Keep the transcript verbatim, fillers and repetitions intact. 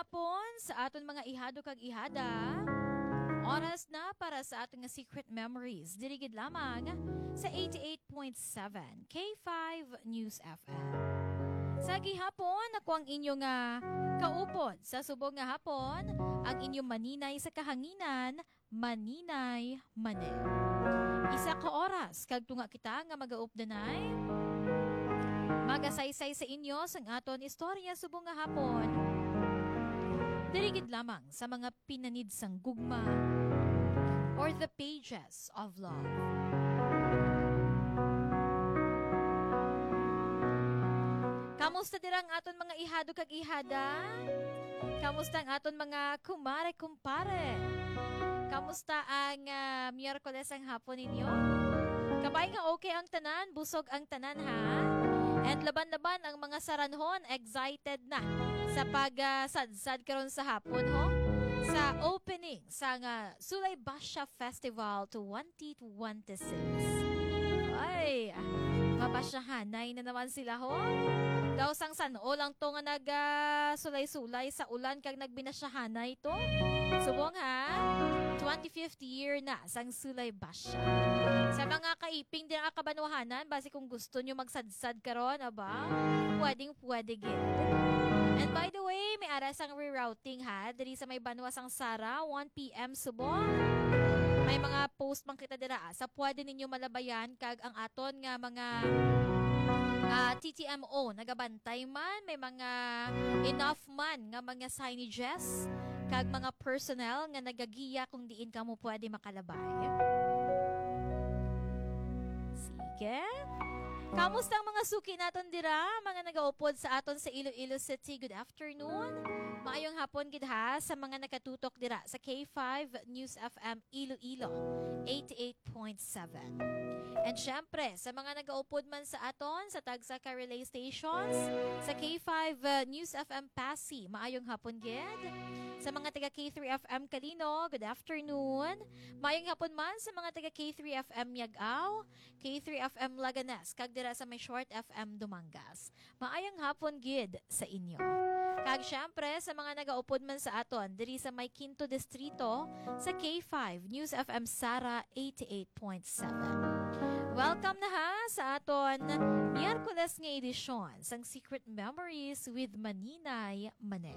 Hapon sa aton mga ihado kag ihada. Oras na para sa aton nga Secret Memories. Diri gid lamang sa eighty-eight point seven K five News F M. Sa gihapon, ako ang inyo nga kaupod sa subong nga hapon, ang inyong maninay sa kahanginan, Maninay Mane. Isa ka oras kag tunga kita nga magaupdanay, magasaysay sa inyo sang aton istorya subong nga hapon. Diri gid lamang sa mga pinanid sang gugma or the pages of love. Kamusta dira ang aton mga ihado kag ihada? Kamusta ang aton mga kumare, kumpare? Kamusta ang, ah, Miyerkules ang hapon ninyo? Kabay nga okay ang tanan, busog ang tanan, ha? And laban-laban ang mga saranhon, excited na sa pag, ah, sadsad karon sa hapon, ho? Sa opening sang, ah, Sulay Basya Festival twenty twenty-six. Ay, mabasyahanay na naman sila, ho. Daw sang san-o lang to nga nag, ah, sulay-sulay sa ulan kag nagbinasyahanay to. Subong, ha? Twenty-fifth year na sang Sulay Basya. Sa mga kaiping din ang kabanwahanan, basi kung gusto nyo magsadsad karon, aba, pwedeng pwede gid. And by the way, may ara sang rerouting, ha, diri sa may banwa sang Sara, one p.m. subong. May mga post man kita dira, ah, sa pwede ninyo malabayan kag ang aton nga mga, ah, T T M O nagabantay man, may mga enough man nga mga signages kag mga personnel nga nagagiya kung diin kamo pwede makalabay. Sige. Kamusta ang mga suki naton dira, mga nagaupod sa aton sa Iloilo City? Good afternoon. Maayong hapon gid, ha, sa mga nakatutok dira sa K five News F M Iloilo, eighty-eight point seven. And syempre, sa mga nagaupod man sa aton sa tagsa ka relay stations, sa K five, uh, News F M Passi, maayong hapon gid. Sa mga taga K three F M Kalino, good afternoon. Maayong hapon man sa mga taga K three F M Miag-ao, K three F M Laganas, kag dira sa may Short F M Dumangas. Maayong hapon gid sa inyo. Kag syempre, sa mga nagaupod man sa aton diri sa may Quinto Distrito, sa K five News F M Sara eighty-eight point seven. Welcome na, ha, sa aton Miyerkules nga edisyon sang Secret Memories with Maninay Mane.